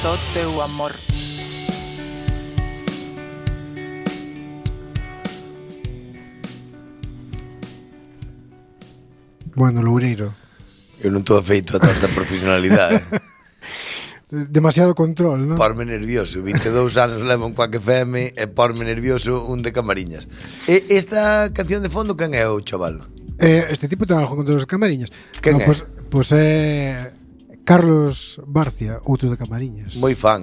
do teu amor. Bueno, Loureiro. Eu non estou feito a tanta profesionalidade. Demasiado control, non? Porme nervioso. 22 anos levo un Quack FM e porme nervioso un de Camariñas. E esta canción de fondo, quen é o chaval? Este tipo ten algo contra os Camariñas. Quen é? Pois é Carlos Barcia, outro de Camariñas. Moi fan,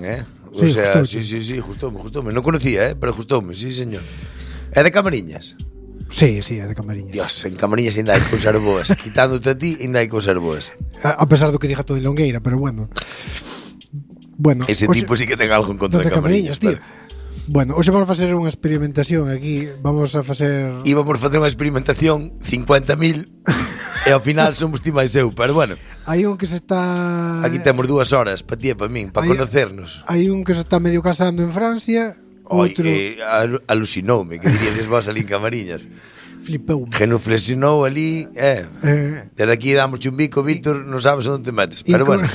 O Sí, sea, gustouche. sí, gustoume. Non conocía, pero gustoume, sí, señor. É de Camariñas? Sí, é de Camariñas. Dios, en Camariñas ainda hai cousas boas. Quitándote a ti, ainda hai cousas boas. A pesar do que diga todo de Longueira, pero bueno. Ese tipo sí que ten algo en contra de Camariñas, tío. Bueno, hoxe vamos a facer unha experimentación aquí. Vamos a facer... Íbamos facer unha experimentación 50.000 e ao final somos ti máis eu, pero bueno. Hai un que se está... Aquí temos 2 horas para ti e para min, para conocernos. Hai un que se está medio casando en Francia. Outro... Alucinoume, que diríades vos ali en Camariñas. Flipeume. Genuflexionou ali, desde aquí damos un bico, Víctor, non sabes onde te metes, pero bueno.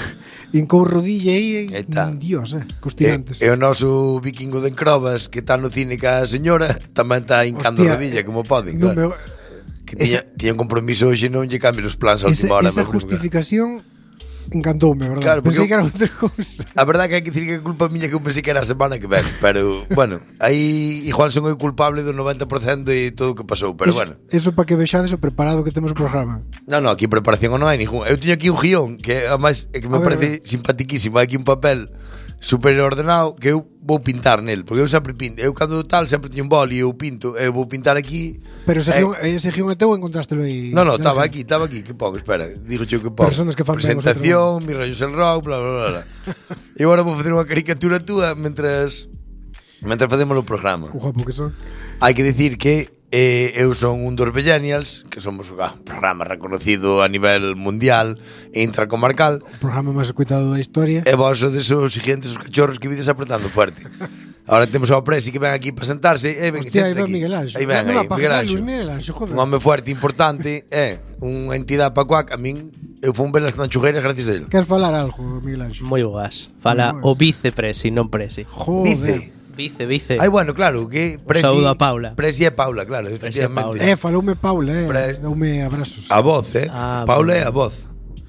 Incou rodilla aí, Dios, cos tirantes. E o noso vikingo de Encrobas, que está no cine ca señora, tamén está hincando rodilla, como poden, claro. Que tiña un compromiso hoxe, non lle cambie os plans a última hora. Esa justificación encantoume, verdad? Claro, pensei que era outra cousa. A verdade que hai que dicir que é culpa miña, que eu pensei que era a semana que ven. Pero, bueno, aí igual son eu culpable do 90% de todo o que pasou. Pero bueno. Eso para que vexades o preparado que temos o programa. Non, aquí preparación non hai ningún. Eu teño aquí un guión que además é que me parece simpatiquísimo. Hai aquí un papel super ordenado que eu vou pintar nel, porque eu sempre pinto. Eu cando tal sempre teño un boli e eu pinto, eu vou pintar aquí. Pero ese guión é teu, encontrástelo aí? Non, estaba aquí, que pon, espera, digo que pon. Personas que fan presentación, mi rollos el rock, bla bla bla. E agora vou facer unha caricatura túa mentras facemos o programa. Guapo que son. Hai que dicir que eu son un dos Bellenials, que somos un programa reconocido a nivel mundial e intracomarcal. O programa máis escuitado da historia. E vos sodes os siguientes, os cachorros que vides apretando fuerte. Ahora temos ao Presi que ven aquí para sentarse. Hostia, aí ven Miguel Anxo. Aí ven, Miguel Anxo, joder. Un home fuerte, importante, unha entidade para Quack. A min, eu fun ver as tanchugueiras gracias a ele. Queres falar algo, Miguel Anxo? Moi boas. Fala o vicepresi, non presi. Joder. Vice. Ai, bueno, claro, que Presi... Saúdo a Paula. Presi é Paula, claro, efectivamente. Faloume Paula, doume abrazos. A voz, Paula é a voz.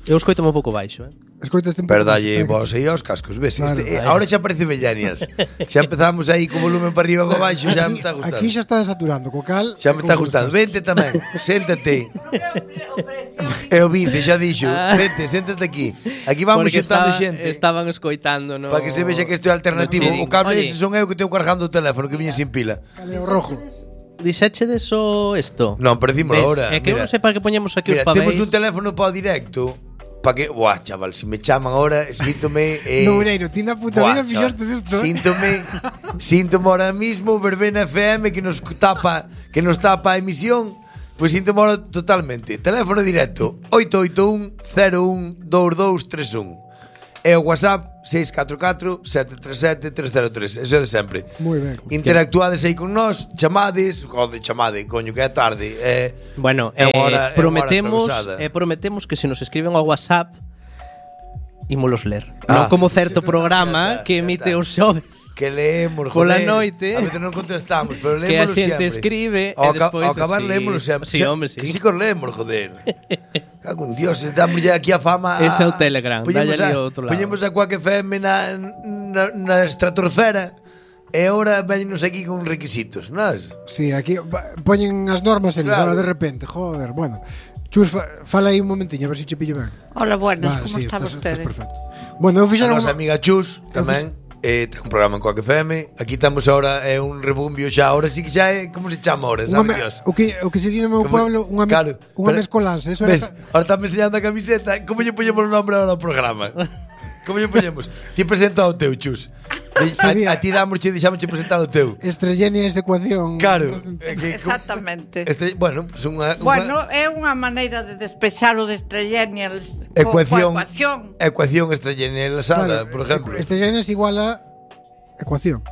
Eu escoito un pouco baixo, Escoitas un pouco. Pero dalle vos aí aos cascos, ves? Claro, ahora xa parece Bellenials. Xa empezamos aí co volumen para arriba e para baixo, xa me está gustando. Aquí xa está desaturando, co cal... Xa me está gustando. Vente tamén, séntate. É o vice, xa dixo. Vente, séntate aquí. Aquí vamos xentando xente. Estaban escoitando, no... Para que se vexa que isto é alternativo. O cable ese son eu que teño cargando o teléfono, que viña sin pila. Cale o rojo. Dixeche deso isto? Non, pero dímolo agora. É que eu non sei para que poñemos aquí os papéis. Temos un teléfono para o directo. Para que, buah, chaval, se me chaman ahora, síntome Loureiro, ti na puta vida fixaste isto. Síntome ahora mismo Verbena FM que nos tapa a emisión. Pois síntome ahora totalmente. Teléfono directo 881-012231. E o WhatsApp 644-737-303. Eso é de sempre. Moi ben. Interactuades aí con nós, chamade, coño, que é tarde. Bueno, prometemos que se nos escriben ao WhatsApp ímolos ler. Non como certo programa que emite os xoves. Que leemos, pola noite. A veces non contestamos, pero leemos sempre. Que a xente escribe e despois ao acabar leemos sempre. Sí, hombre, sí. Que si que os leemos, joder. Cago en Dios, damos ya aquí a fama. Ese é o Telegram, dalle ali ao outro lado. Poñemos a Quack FM na estratosfera. E agora vennos aquí con requisitos, non? Sí, aquí poñen as normas eles, ahora de repente, joder, bueno. Chus, fala aí un momentiño, a ver se che pillo ben. Hola, buenas, como están ustedes? Perfecto. Bueno, eu fixeron... A nosa amiga Chus tamén ten un programa en Quack FM. Aquí estamos ahora, é un rebumbio xa. Ahora sí que xa é, como se chama ahora, sabe Dios? O que se di no meu pueblo, unha mezcolanza. Ves, ahora está me enseñando a camiseta. Como lle poñemos o nombre ahora ao programa? Como lle poñemos? Ti presenta o teu, Chus. A ti deixámosche presentar o teu. Estrellenials ecuación. Claro. Exactamente. Bueno, pues bueno, é unha maneira de despexar o de Estrellenials. Ecuación Estrellenialsada, por exemplo. Estrellenials igual a ecuación.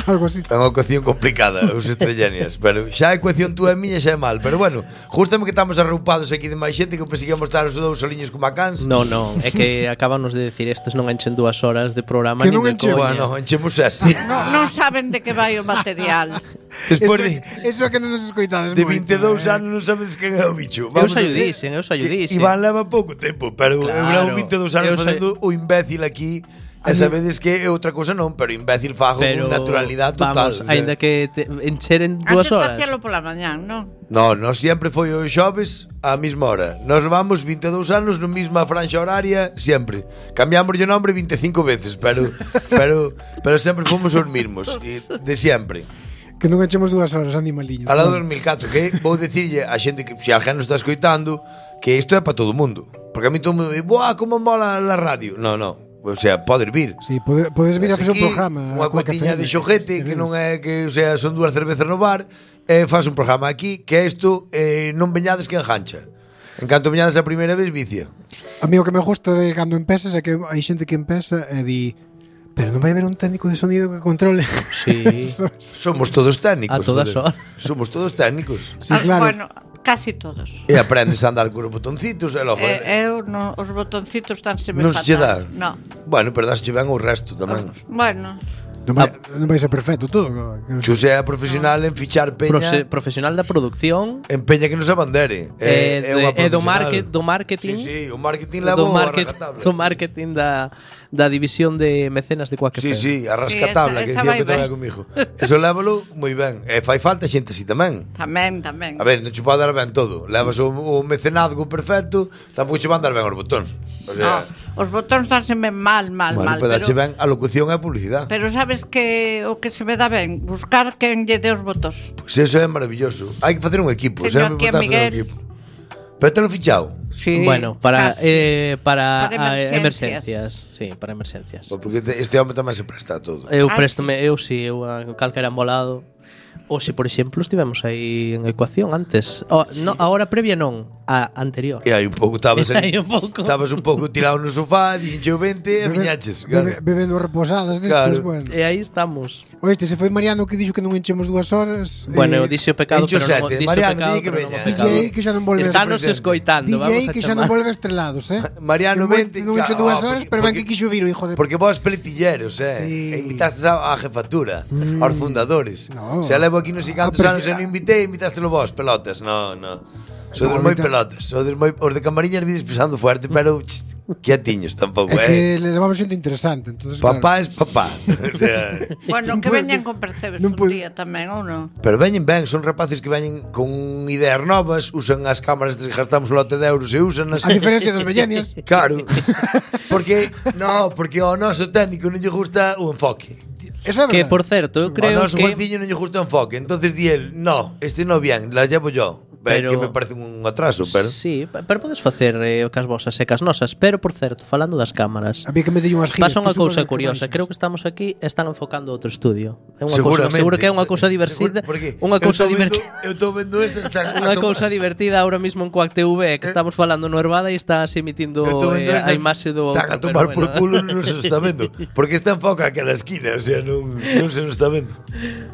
Algo así. É unha ecuación complicada, os estrellenias. Pero xa a ecuación túa e miña xa é mal. Pero bueno, justamente que estamos arroupados aquí de máis xente, que pensei que íamos estar os dous soliños como a cans. Non, é que acabamos de decir estes non enchen 2 horas de programa Que nin non de enchemos. coña. Bueno, enchemos ese. Non saben de que vai o material. Despois de, Eso é que non nos escoitades de moito, 22 anos non sabedes quen é o bicho. Eu xa a lle ver, dixen. que Iván leva pouco tempo, pero eu Claro, levo 22 anos eu sei. facendo o imbécil aquí. E sabedes que é outra cousa non, pero imbécil fago con naturalidade total. Vamos, aínda que encheren 2 Antes horas. facíalo pola mañán, non? No, nos sempre foi o xoves á mesma hora. Nos levamos 22 anos na mesma franxa horaria sempre. Cambiamos o nombre 25 veces, pero sempre fomos os mesmos, de sempre. Que non enchemos 2 horas, animaliño. Al lado do 2004, que vou dicirlle a xente que se alguén nos está escoitando que isto é para todo o mundo. Porque a mí todo o mundo di, "Buah, como mola a radio". No. O sea, podes vir. Sí, podes vir a facer un programa. Unha cuatiña de xoguete que non é que, o sea, son 2 cervezas no bar, faz un programa aquí que isto non veñades que engancha. En canto veñades a primeira vez vicia. A mí o que me gusta de cando empezas é que hai xente que empeza e di, pero non vai haber un técnico de sonido que controle. Sí. Somos todos técnicos. A todas joder. horas. Somos todos técnicos. Sí, claro. Bueno, casi todos. E aprendes a andar cos botoncitos e logo. Eu non, os botoncitos están se me Non se che dá. fatal. No. Bueno, pero dasche ben o resto tamén. Bueno, Non vai ser perfecto todo. Xosé é profesional en fichar peña. Profesional da producción En peña que nos abandere. e unha do profesional. marketing. Sí, o marketing levou a rajatabla. do marketing da división de mecenas de Quack Sí, FM. sí, a rascatabla, Sí, que esa dicía vai que traballa ben. comigo. Eso lévalo moi ben. E fai falta xente así tamén. tamén. A ver, non che pode dar ben todo. Levas o mecenazgo perfecto, tampouco che van dar ben os botóns. O sea, Os botóns danse mal, bueno, pero dache ben a locución e a publicidade. Pero sabes que o que se me dá ben, buscar quen lle dé os botóns. Pois eso é maravilloso. Hai que facer un equipo, Teño sempre aquí a importante facer un Miguel. equipo. Pero te lo fichado. Sí, Bueno, para casi. para emerxencias. emerxencias. Sí, para emerxencias. Porque este home tamén se presta a todo. Eu Ah, préstome, eu a calquera embolado. Ou se, por exemplo, estivemos aí en ecuación antes. No, a hora previa non, a anterior. E aí un pouco estabas Aí ali, un pouco. estabas un pouco tirado no sofá, dixenche o 20 e viñaches. Claro. Bebendo reposadas destes, Claro. bueno. E aí estamos. Oeste, se foi Mariano que dixo que non enchemos 2 horas. Bueno, eu dixo o pecado, encho pero non sete. dixo o Mariano, pecado, di que pero non o veña. pecado. DJ que xa non volve Estános presente. escoitando, vamos DJ a que xa non chamar. volve estrelados, Mariano, vente. Non encho 2 horas, porque- pero ben porque- que quixo vir o hijo de... Porque vos peletilleros, Sí. E invitastes á jefatura, aos fundadores. No. Se levo aquí non sei cantos Ah, pero anos se- e non invitei, invitastelo vos, pelotas. No. Sodes moi pelotas, sodes moi os de Camariñas vides pisando fuerte, pero quietiños tampouco, É que le levamos xente interesante, entonces Papá es papá. O sea, Bueno, Non que puede- veñan con percebes non un puede- día tamén, ou non? pero veñen ben, son rapaces que veñen con ideas novas, usan as cámaras que gastamos un lote de euros e usanas. A diferencia dos vellenias. Claro. Porque ao noso técnico non lle gusta o enfoque. Eso é Que, verdade. por certo, eu creo Ao noso que... Juanciño non lle gusta o enfoque. Entonces di el, no, este no bien, la llevo yo. Pero- Que me parece un atraso, pero... Sí, pero podes facer o cas vosas e cas nosas. Pero, por certo, falando das cámaras, A mí que me dillo unhas giras. pasa unha que cousa supoño que curiosa. máis. Creo que estamos aquí e están enfocando outro estudio. É unha Seguramente. cousa, seguro que é unha cousa divertida. Porque Unha cousa divertida. Eu estou vendo isto, están Unha cousa divertida ahora mismo en Quack TV que estamos falando no Herbada e estás emitindo a imaxe do Están a outro, tomar pero por bueno. culo, non se está vendo. Porque está enfoca aquela esquina, o sea, non se nos está vendo.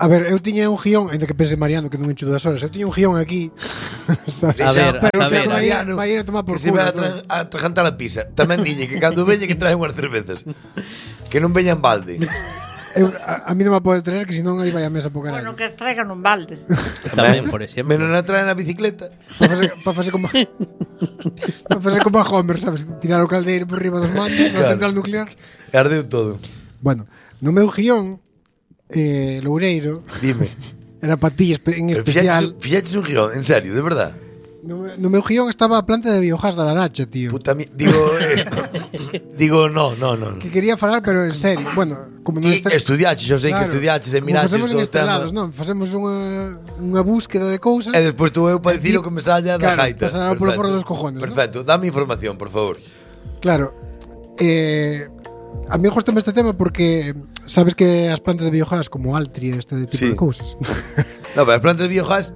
A ver, eu tiña un guión, ainda que pense Mariano que non encho 2 horas. Eu tiña un guión aquí. Sabes? A ver, Pero a o sea, ver. vai ir a tomar por que se culo. vai todo. a atragantar a pizza. Tamén dille que cando veña que trae unhas cervezas. Que non veñan balde. A mí non me pode traer que senón aí vai a mesa po caralho. Bueno, que traigan un balde. Tamén, por exemplo. Menos na traen a bicicleta. Pa facer como pa facer como a Homer, sabes? Tirar o caldeiro por riba dos mandos na Claro. central nuclear. E ardeu todo. Bueno, no meu guión Loureiro Dime. era para ti en Pero especial. fixaches un guión, en serio, de verdad. No meu guión estaba a planta de biogás da Daracha, tío. Puta digo, no. Que quería falar, pero en serio. Bueno, como non Ti estudiaches, eu sei que estudiaches e como miraches facemos en todo o tema. Estrelados, non? Facemos unha búsqueda de cousas. E despois tú eu para dicir o que me salla da Claro, gaita. pasará polo Perfecto. foro dos cojones, ¿no? Perfecto, dame información, por favor. Claro. A mí gustame este tema porque sabes que as plantas de biogás como Altria, este tipo Sí. de cousas. No, pero as plantas de biogás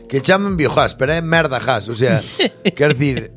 que chaman biogás, pero é merda gas, o sea, quer decir,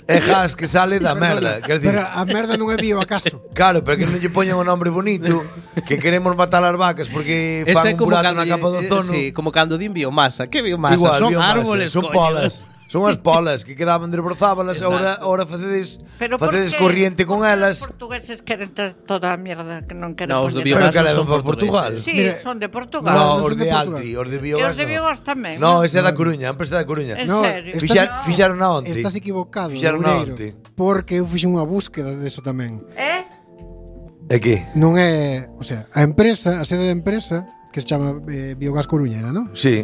É gas que sale da merda. Quer decir, Pero a merda non é bio acaso. claro, pero que non lle poñan un nombre bonito, que queremos matar as vacas porque Ese fan é un como burato cando na capa do ozono. sí, como cando din biomasa. Que biomasa? Igual, Son biomasa, árboles, son coño. polas. Son as polas que quedaban desbrozábalas, Exacto. ahora facedes por facedes que- corriente con por que elas. Os portugueses queren ter toda a mierda que non queren No, os do poñer. Pero biogás que non levan son para Portugal. portugueses. Sí, Mira, son de Portugal. No, No, os son de de Portugal. Altri, os de E biogás. os de biogás tamén. No, ese é da Coruña, a empresa da Coruña. En No, serio. estás- Fixaron na onte. Estás equivocado, Fixaron na Loureiro, onte. porque eu fixen unha búsqueda deso tamén. É que? Non é, o sea, a empresa, a sede da empresa, que se chama Biogás Coruña, era, non? Sí,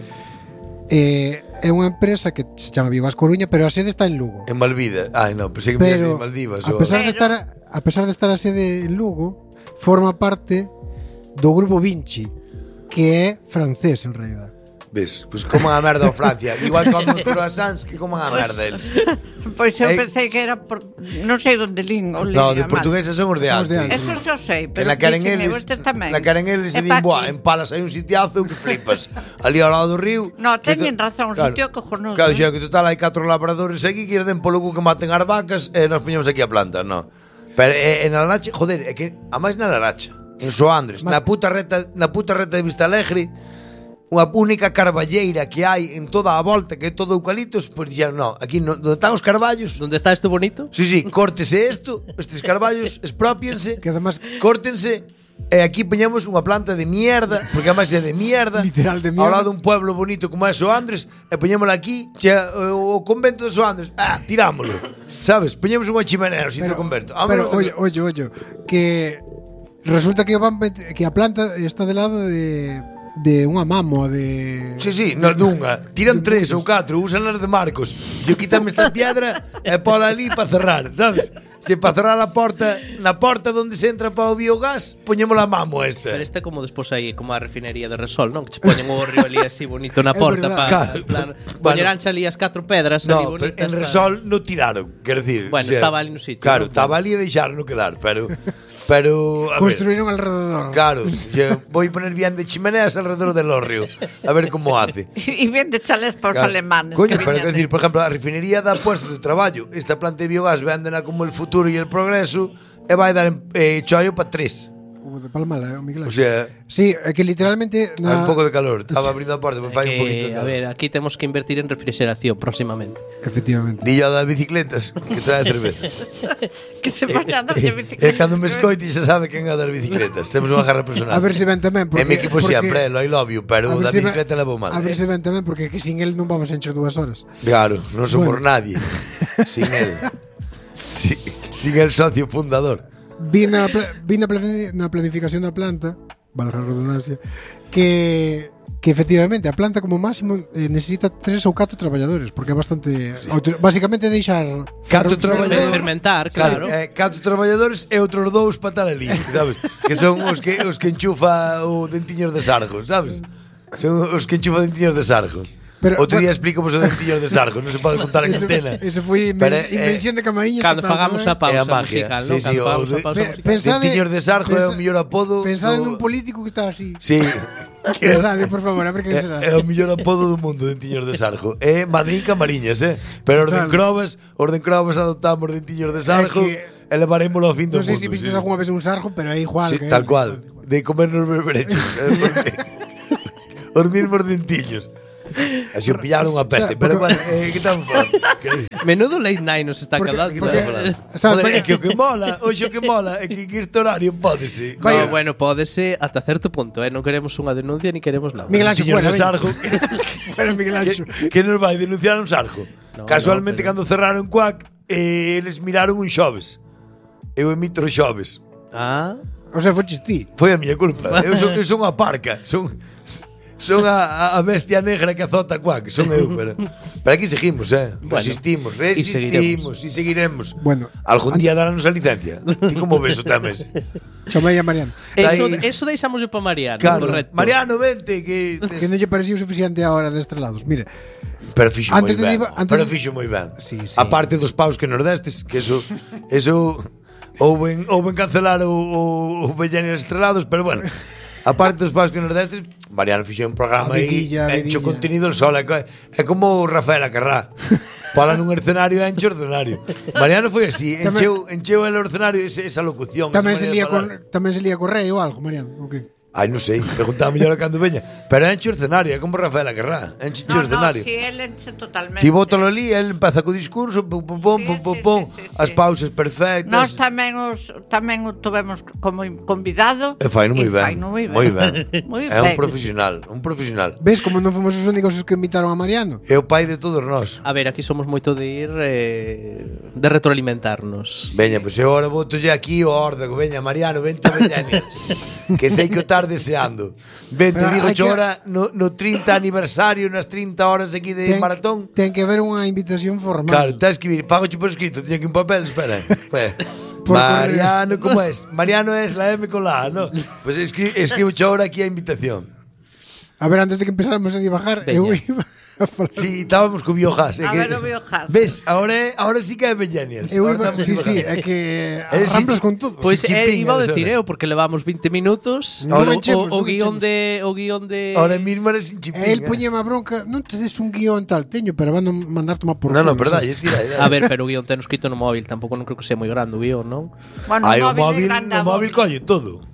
É unha empresa que se chama Biogás Coruña, pero a sede está en Lugo. en Malvida. Ai, no, pensei que me Pero de Maldivas. a pesar de estar a sede en Lugo, forma parte do grupo Vinci, que é francés en realidad. Ves, pois coman a merda a Francia. Igual comen os croissants que coman a merda eles. Pois eu Eh, pensei que era por... Non sei onde lín o No, de mal. portugueses son os de Son os de Altri. Altri. Eso xa sei, Que pero la queren dicen, eles, estes tamén. la queren eles e É din, pa buah, aquí. en Palas hai un sitiazo que flipas. Ali ao lado do río. No, que teñen razón, un sitio cojonudo, Claro, eh. xa que total hai 4 labradores aquí que irden polo cu que maten as vacas e nos poñemos aquí a planta, no. Pero en Alarache, joder, é que a máis na Alarache, en Soandres, na puta reta de Vista Alegre, unha única carballeira que hai en toda a volta, que é todo eucaliptos, pois dixeron, no, aquí onde están os carballos, Donde está isto bonito? sí, córtese isto, estes carballos, expropiense, Que además córtense, e aquí poñemos unha planta de mierda, porque además é de mierda, Literal de ao mierda. lado dun pueblo bonito como é Soandres, e poñémola aquí, o convento de Soandres, tirámolo, sabes? Poñemos unha chimenea no sitio do convento. Pero oye, que resulta que que a planta está de lado de unha mámoa de Sí, no, dunha. Tiran 3 ou 4, usan as de Marcos. Yo quítame esta piedra e pola ali para cerrar, sabes? Se para cerrar a porta, na porta onde se entra para o biogás, poñémola a mamo esta. Pero este é como despois aí, como a refinería de Resol, non? Que che poñen o río ali así bonito na É porta verdad. para Claro. plan, Bueno. poñeranche ali as 4 pedras ali No, pero bonitas. en Resol no tiraron, quero dicir. Bueno, estaba ali no sitio, Claro, non? estaba ali e deixaron quedar, pero a ver, construíron alrededor. claro, voy a poner bien de chimeneas alrededor del hórreo, a ver cómo hace. E bien de chales para os Claro. alemanes. Coño, que pero viñan quero dicir, por ejemplo, a refinería dá puestos de traballo. Esta planta de biogás véndena como el futuro e el progreso e vai dar chollo para 3. Como de Palmala, o Miguel O Ángel. sea, Sí, é que literalmente hai un pouco de calor. Estaba abrindo a porta, pero fai un poquito de Que, a calor. ver, aquí temos que invertir en refrigeración próximamente. Efectivamente. Dillo das bicicletas que trae cerveza. Que se vayan a dar de E bicicleta. cando me escoite xa sabe quen é das bicicletas. Temos unha garra personal. A ver se ven tamén porque É mi equipo sempre, I love you, pero a ver da se ven- bicicleta levo mal. A ver se ven tamén porque que sin el non vamos a encher 2 horas. Claro, non somos Bueno. nadie sin él. Sin el socio fundador. Vi na planificación da planta, valga a redundancia, que efectivamente a planta como máximo necesita 3 ou 4 traballadores, porque é bastante básicamente deixar 4 traballadores. Fermentar, claro. 4 traballadores e outros 2 para estar ali, sabes? Que son os que enchufa o dentiños de sargo, sabes? Son os que enchufa dentiños de sargo. Pero, Outro día bueno, explicamos os dentiños de sargo, non se pode contar en antena. Eso foi Pero, invención de Camariñas. Cando total, fagamos a tamén. É a pausa magia. musical, Sí, non? sí, Cando o fagamos de- a pausa musical. Pensade- Dentiños de sargo é o mellor apodo. Pensade do- nun político que está así. Sí. Pensade, por favor, a ver quen será. É o mellor apodo do mundo, Dentiños de Sargo. É Madín Camariñas, Pero os de Total. Crobas adoptamos Dentiños de Sargo que- e levarémolo ao fin do Non sei mundo. se vistes algunha vez un sarjo, pero é igual. Sí, que tal cual. De comernos berberechos. Os mismos dentiños. Así o pillaron a peste. O sea, Pero porque- bueno, que estamos falando? Que- Menudo late night nos está Porque- quedando. porque- Joder, Sabes, é que o que mola, hoxe o que mola é que en este horario pódese. No, bueno, pódese ata certo punto, Non queremos unha denuncia ni queremos nada. Miguel Ángel, Dentiños fuera, de veña. Sargo. Pero Miguel Ángel. que nos vai denunciar un sarjo. No, Casualmente no, pero- cando cerraron Cuac, eles miraron un xoves. Eu emito os xoves. Ah, O sea, foches ti. Foi a miña culpa. Eu son a parca, son a bestia negra que azota Cuac, son eu, pero aquí seguimos, Bueno, resistimos e seguiremos. Bueno, Algún día daránnos a licencia. Ti como ves o tema ese? chamei a Mariano. eso deixámoslo para Mariano, Claro, correcto. Mariano, vente que Que non lle parecía o suficiente a hora de estrelados. Mire, Pero fixo moi Antes de ben. diva- antes Pero de- fixo moi ben. Sí, sí. A parte dos paus que nos destes, que eso houben cancelar o Bellenes Estrelados, pero bueno. Aparte dos paus que nos destes, Mariano fixo un programa A aí, vidilla, a encho vidilla. contenido el sol, é como o Rafael Acarrá. Fala nun escenario, enche o escenario. Mariano foi así, encheu el escenario esa locución. Tamén esa se maneira de lía falar. tamén se lía co rei ou algo, Mariano, o que? Ai, non sei, preguntaba mellor a cando veña. Pero enche o escenario, é como Rafael Acarrá, enche o escenario. si él enche totalmente. Ti bótalo ali, el empeza co discurso, pum, pum, pum, pum, pum, pum, as pausas perfectas. Nós tamén o tuvemos como convidado. E faino moi ben. Faino moi ben. Moi ben. Moi É un ben. profesional, un profesional. Ves como non fomos os únicos os que invitaron a Mariano? É o pai de todos nós. A ver, aquí somos moito de ir de retroalimentarnos. Veña, pois eu agora botolle aquí o órdago. Veña, Mariano, vente a Beñanias. Que sei que o estás deseando. Vente, Pero digo hai que- ahora no 30 aniversario, nas 30 horas aquí de maratón. Ten que haber unha invitación formal. Claro, tens que vir, pago por escrito, tiña aquí un papel, espera. Por Mariano, como es? Mariano es la M con la A, ¿no? Pues escribo ahora aquí a invitación. A ver, antes de que empezáramos a divagar, Veña. eu iba a falar. Sí, estábamos co biogas. A ver o biogas. Ves, ahora sí que é Beñanias. Eu iba, sí, é que Eres arramplas sinchi- con todo. Pois chimpín, iba a eres decir ahora. eu porque levamos 20 minutos. Non o enchemos, o non guión enchemos. o guión de Ahora mismo eres sin chipín. El poñeme a bronca, non te des un guión tal, teño, pero van a mandar tomar por No, culo, verdad, sabes? tira. A ver, pero o guión ten escrito no móvil, tampouco non creo que sea moi grande o guión, non? Bueno, Ai, o móvil, grande o móvil colle todo.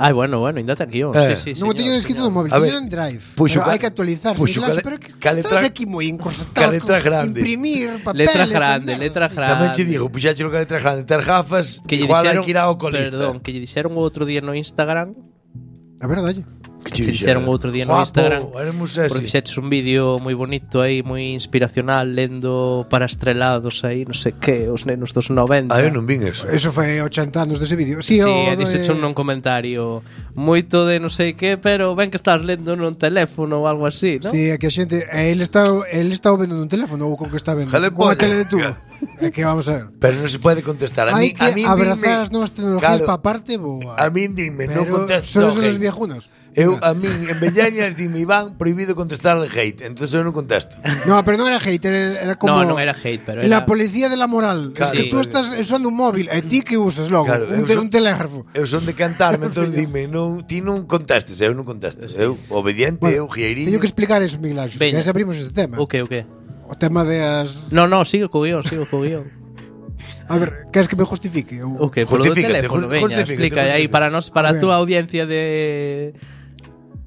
Ai, bueno, ainda ten guión. Sí, Non o teño escrito no móvil, A ver, teño en Drive. puxo Pero ca- hai que actualizar, puxo claro, ca- pero que ca estás letra- aquí moi encorsetado. ca letra grande. Imprimir papeles. Letra e grande, merda, letra sí. grande. Tamén che digo, puxache que letra grande, ter gafas, Que lle igual hai dixeron, que ir ao oculista. perdón, que lle dixeron o outro día no Instagram. A ver, dalle. Que Que che dixeron outro día no Guapo, Instagram. éramos Porque ese. fixeches un vídeo moi bonito aí, moi inspiracional, lendo para estrelados aí, non sei que, os nenos dos 90. Ah, eu non vin eso. Eso foi 80 anos dese vídeo. Sí, Sí, o e dixeche un comentario moito de non sei que, pero ben que estás lendo nun teléfono ou algo así, non? Sí, é que a xente, ele está vendo nun teléfono ou con que está vendo. Jale Con a pollas. tele de tubo. É que vamos a ver. Pero non se pode contestar. Hai que abrazar as novas tecnologías Claro, para parte boa. A min dime, non Pero contestes son ao esos hate. los viejunos. Eu, Mira. a min, en Bellañas, dime, Iván, prohibido contestar al hate. Entonces eu non contesto. No, pero non era hate, era como No, non era hate, pero la era... policía de la moral. Claro. Es que tú estás usando un móvil, e ti que usas logo, Claro, un, eu son- un telégrafo. Eu son de cantarme, entón dime, non, ti non contestes, eu non contesto. Eu, obediente, eu, guieirinho. Teño que explicar eso, Miguel Ángel, que Veña. ese abrimos ese tema. O que? O tema de as... No, sigo co guión, A ver, queres que me justifique? O que? Polo do Justifícate, teléfono, veña, justifícate, explica aí justifícate. para nós, para A a túa ver. audiencia de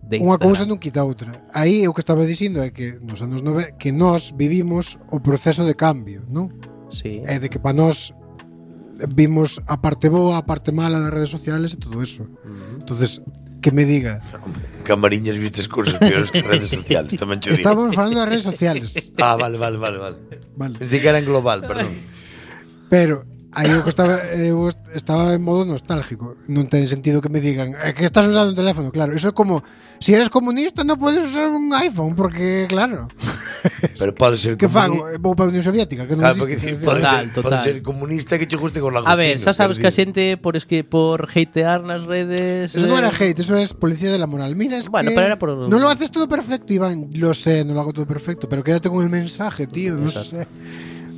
Unha Instagram. cousa non quita outra. Aí o que estaba dicindo é que nos anos 90 que nós vivimos o proceso de cambio, non? Sí. É de que para nós vimos a parte boa, a parte mala das redes sociales e todo eso. Entonces, que me diga, En Camariñas vistes cursos peores que redes sociales, tamén che digo. estábamos falando das redes sociales, Ah, vale. vale. Pensei que era en global, perdón. Pero aí o que estaba en modo nostálgico. Non ten sentido que me digan que estás usando un teléfono, claro. Eso é como si eres comunista non podes usar un iPhone porque, claro, Pero pode ser que fago? Vou para a Unión Soviética, que non Claro, porque existe. pode Total, ser, pode ser comunista que che guste con la A ver, xa sabes que a xente por hatear nas redes... Eso non era hate, eso es policía de la moral. Mira, es Bueno, que pero era por- no lo haces todo perfecto, Iván. Lo sé, no lo hago todo perfecto, pero quédate con el mensaje, tío, no sé.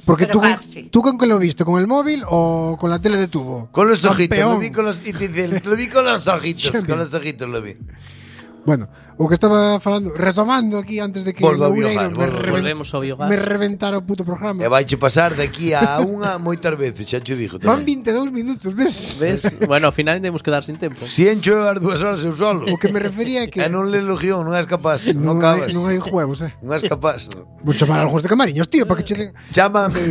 Porque Pero casi. tú con qué lo viste, con el móvil o con la tele de tubo. Con los ojitos, Campeón. lo vi con los, y te dice, lo vi con los ojitos, Champion. con los ojitos lo vi. Bueno, o que estaba falando, retomando aquí antes de que Volva a Loureiro biogas, volvemos ao biogás. me reventara o puto programa. E vaiche pasar de aquí a unha moitas veces, xa te digo Van tamén. 22 minutos, ves? Ves? Bueno, ao final temos que dar sin tempo. Si encho as 2 horas eu solo. O que me refería é que E non le logión, non és capaz, non non cabas. hai juegos, Non és capaz. Vou chamar a algúns de Camariños, tío, para que che den... Chámame